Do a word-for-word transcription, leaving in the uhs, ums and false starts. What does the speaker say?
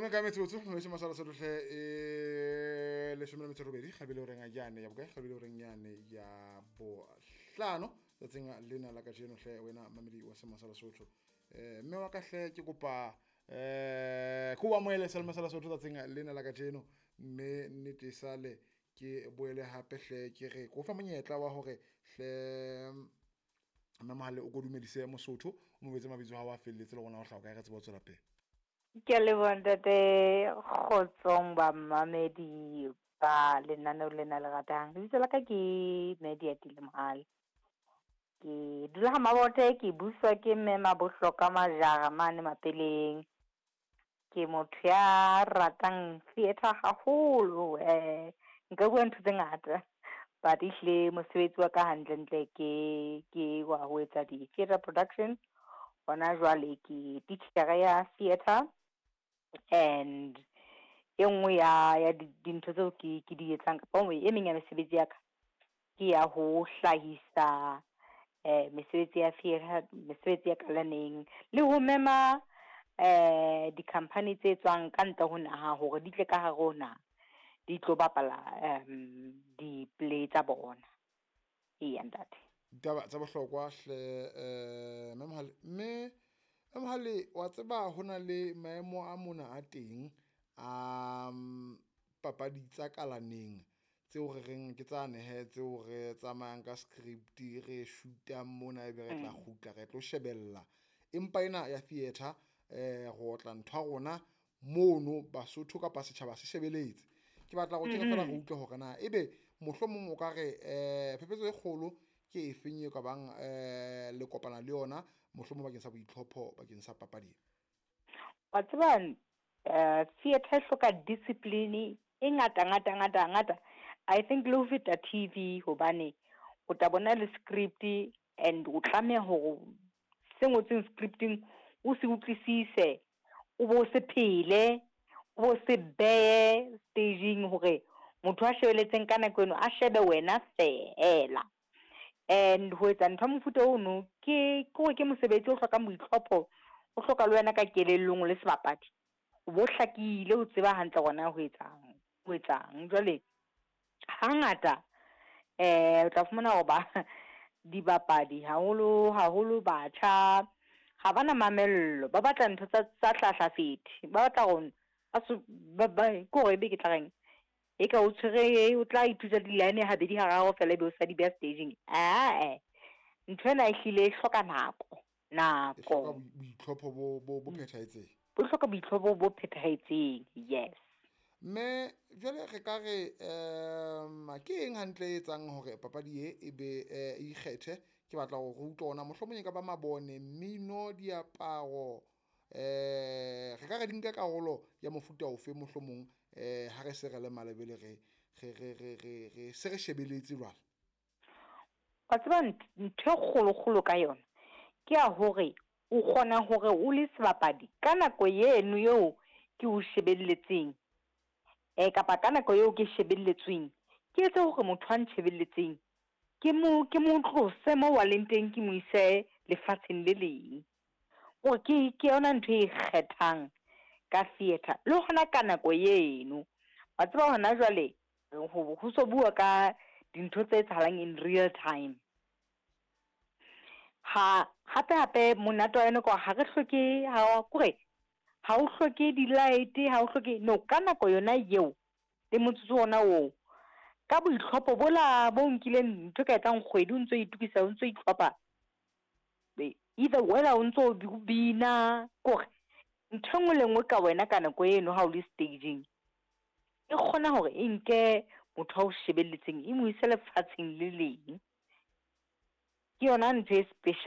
Leshome ka metsotso mme masala sotho e leshome le metso e robedi kgabele horeng yane ya bokae, kgabele horeng yane ya bohlano tsatsing lena la kajeno hle wena mamedi wa Semasala Sotho. Eh mme wa ka hle ke kopa eh ko amohele Semasala Sotho tsatsing lena la kajeno, mme nnete sale ke boele hape hle ke re ko fa monyetla wa hore hle mme Mohale o ko dumedise Mosotho, o mo betse mabitso a hao a felletse le rona ho hlaha kae re tsebe ho tswela pele. Ke a leboha ntate. Kgotsong bamamedi ba lenaneo lena le ratang. Lebitso la ka ke Mediatile Mohale. Ke dula ha Mabote, ke buswa ke mme Mabohloka Majara mane Mapeleng. Ke motho ya ratang theatre haholo, eh nka bua ntho tse ngata, but ehlile mosebetsi wa ka hantle-ntle ke ke wa ho etsa di-theatre production. Hona jwale ke titjhere ya theatre and e nngwe ya ya dintho tseo ke ke di etsang kapa e meng ya mesebetsi ya ka ke ya ho hlahisa eh mesebetsi ya theatre, mesebetsi ya kalaneng le ho mema eh di-company tse tswang ka ntle ho naha hore di tle ka hare ho naha di tlo bapala um di-play tsa bona. Eya ntate. Ditaba tsa bohlokwa hle eh mme Mohale, mme mme Mohale wa tseba ho na le maemo a mona a teng a papadi tsa kalaneng tseo re reng ke tsa nehe tseo re tsamayang ka script re shoot-ang mona ebe re tla kgutla re tlo shebella. Empa ena ya theatre eh re otla ntho ya rona mono Basotho kapa setjhaba se shebeletse. Ke batla go kene fela re utlwe hore na ebe mohlomong o ka re eh phephetso e kgolo ke efeng e ka bang eh le kopana le yona mohlomong bakeng sa boitlhopho bakeng sa papadi. Wa tseba eh theatre e hloka discipline e ngata ngata ngata ngata. I think le ho feta T V, hobane o tla bona le script and o tlameha hore se ngotsweng scripting o se utlwisise, o bo se phele, o bo se behe staging hore motho a shebelletseng ka nako eno a shebe wena feela. And ho etsa ntho ya mofuta ono ke ke hore ke mosebetsi o hlokang boitlhopho, o hloka le wena ka kelellong o le sebapadi o bo hlakile, o tseba hantle hore na ho etsang ho etsang. Jwale hangata eh o tla fumana hore ba dibapadi, haholo haholo batjha, ha bana mamello, ba batla ntho tsa tsa hlahlafethe, ba batla hore ba ba ke hore ebe ke tla reng e ka o tshwere o tla ithuta di-line habedi hararo feela ebe o sa di beha staging. Ae, ntho ena ehlile e hloka nako. E hloka nako boitlhopho bo bo bo phethahetseng. Bo hloka boitlhopho bo phethahetseng, yes. Mme jwale re ka re um ke eng hantle e etsang hore papadi e e be e ikgethe? Ke batla hore re utlwe ona mohlomong e ka ba mabone, mmino, diaparo, eh re ka re di nka karolo ya mofuta ofe mohlomong eh ha re se re le malebele re re re re re re se re shebeletse jwale. Wa tseba ntho e kgolo-kgolo ka yona ke ya hore o kgona hore o le sebapadi ka nako eno eo ke o shebelletseng eh kapa ka nako eo ke shebelletsweng, ke etse hore motho a ntshebelletseng ke mo ke mo tlose mo a leng teng, ke mo ise lefatsheng le leng. Hore ke ke yona ntho e ikgethang ka theatre le hona ka nako eno. Wa tseba hona jwale ho ho so bua ka dintho tse etsahalang in real time. Ha hape hape monate wa yona ke hore ha re hloke ha kore ha o hloke di-light, ha o hloke no ka nako yona eo le motsotso ona oo, ka boitlhopho bola bo nkileng ntho e ka etsang kgwedi o ntso itokisa, o ntso itlhopha, either whether o ntso bina, kore ntho e nngwe le nngwe ka wena ka nako eno ha o le staging e kgona hore e nke motho a o shebelletseng e mo ise lefatsheng le leng. Ke yona ntho e special.